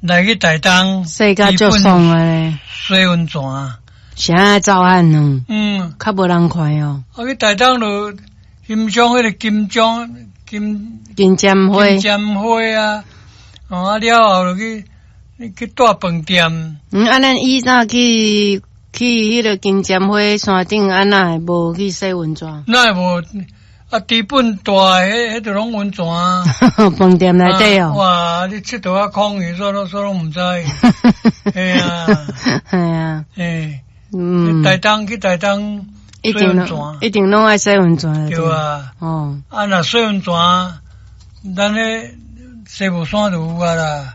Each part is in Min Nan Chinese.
來去台東，洗甲足爽的咧。洗溫泉。啥愛走漢吶？較無人看哦。啊，去台東就欣賞彼個金鐘金金針花。金針花啊，哦啊了後就去住飯店。嗯，啊，咱以早去彼個金針花山頂，啊，哪會無去洗溫泉？哪會無？啊，知本大彼彼就攏溫泉啊。飯店內底哦。哇！你𨑨迌啊空去，煞攏煞攏毋知。嘿啊。嘿啊。嘿。台東去台東一定一定攏愛洗溫泉。對啊。哦。啊，若洗溫泉，咱彼西武山就有啊啦。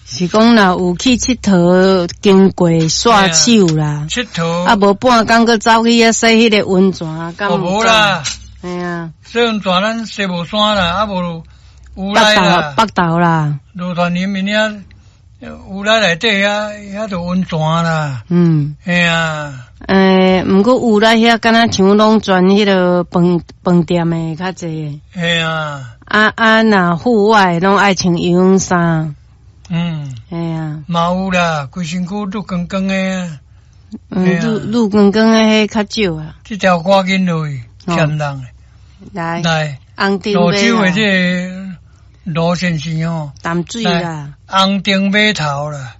是講若有去𨑨迌，經過煞手啦。𨑨迌。啊，無半工閣走去遐洗彼個溫泉，敢有？無啦。嘿啊。洗溫泉咱西武山啦，啊無烏來啦。北投啦。羅團林面遐烏來內底遐遐就溫泉啦。嘿啊。毋過烏來遐敢若像攏專彼個飯飯店的較濟。嘿啊。啊啊，若戶外攏愛穿游泳衫。嘿啊。嘛有啦，規身軀滷光光的。嗯，滷滷光光的彼較少啊。這條歌緊落去，欠人的。來。來。紅燈蘆洲的這個羅先生哦。淡水啦。紅燈碼頭啦。